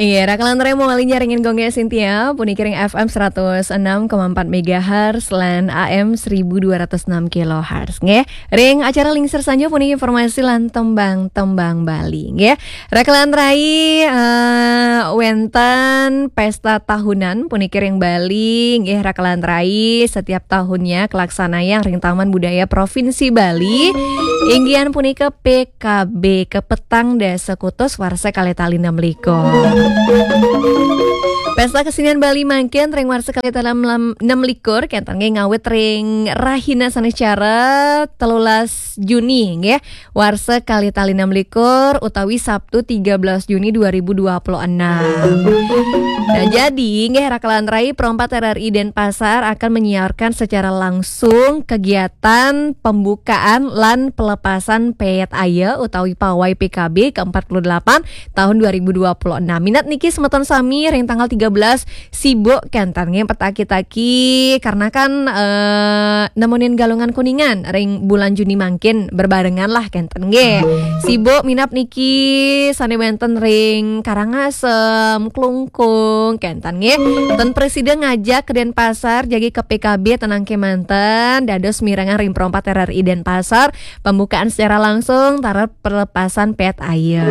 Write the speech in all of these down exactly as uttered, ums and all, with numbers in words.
Iya, raka lan rai mawali nyarengin Gong Gé Sintia, puniki ring F M seratus enam koma empat megahertz lan A M seribu dua ratus enam kilohertz. Nggih, ring acara Lingsir Sanja puniki informasi lan tembang-tembang Bali. Nggih, raka lan rai, eh, wénten pesta tahunan puniki ring Bali. Nggih, raka lan rai setiap tahunnya kalaksanayang ring Taman Budaya Provinsi Bali. Inggihan punika P K B, kapetang dasa kutus warsa kalih tali enam likur. Pesta Kesenian Bali mangkin ring warsa kalih tali enam likur, kénten nggih ngawit ring rahina Saniscara telulas Juni nggih, warsa kalih tali enam likur utawi Sabtu tiga belas Juni dua ribu dua puluh enam. Nah, jadi nggih, raka lan rai, Pro empat R R I Denpasar akan menyiarkan secara langsung kegiatan pembukaan lan pelepasan péét aya utawi pawai P K B ke empat puluh delapan tahun dua ribu dua puluh enam. Minab niki semeton sami, ring tanggal tiga belas sibuk kénten nggih, petaki-taki karena kan, eh, nemunin Galungan Kuningan ring bulan Juni mangkin, berbarengan lah kénten nggih. Sibuk minab niki sané wénten ring Karangasem, Klungkung, kénten nggih. Ten prasida ngajak ke Denpasar, jagi ke P K B, tenang kémanten, dados mirengang ring Pro empat R R I Denpasar, pembukaan secara langsung taler pelepasan péét aya.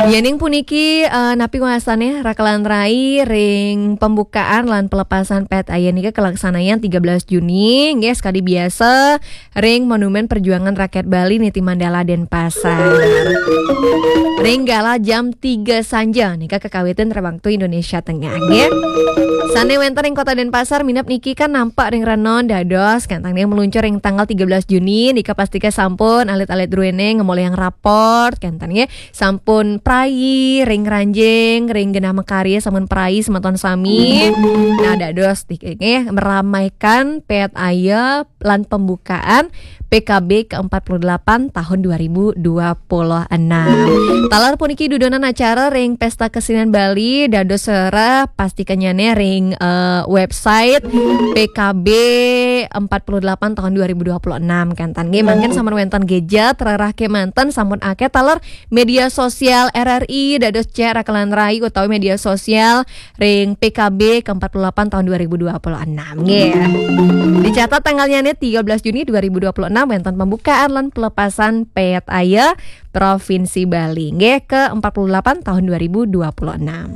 Yéning puniki, eh, napi wastané, raka lan rai, ring pembukaan lan pelepasan péét aya nika kalaksanayang tiga belas Juni, nggih, sekadi biasa, ring Monumen Perjuangan Rakyat Bali Niti Mandala Denpasar. Ring galah jam tiga sanja nika kakawitin ring waktu Indonesia Tengah, nggih. Sané wénten ring Kota Denpasar minab niki kan nampak ring renon, dados kénten nggih meluncur ring tanggal tiga belas Juni nika pastika sampun alit-alit druéné ngemolihang rapor, kénten nggih. Sampun prai ring ngranjing, ring genah makarya sampun prai semeton sami. Nah, dados niki nggih meramaikan péét aya lan pembukaan P K B ke empat puluh delapan tahun dua ribu dua puluh enam. Taler puniki dudonan acara ring Pesta Kesenian Bali, dados sera pastikannyané ring, eh, website P K B empat puluh delapan tahun dua ribu dua puluh enam, kénten nggih. Mangkin sampun wénten gadget, rerah kémanten, sampun akéh taler media sosial R R I, dados cek raka lan rai utawi media sosial ring P K B ke empat puluh delapan tahun dua ribu dua puluh enam, nggih. Dicatat tanggalnyané tiga belas Juni dua ribu dua puluh enam, wénten pembukaan lan pelepasan péét aya Provinsi Bali, nggih, ke empat puluh delapan tahun dua ribu dua puluh enam.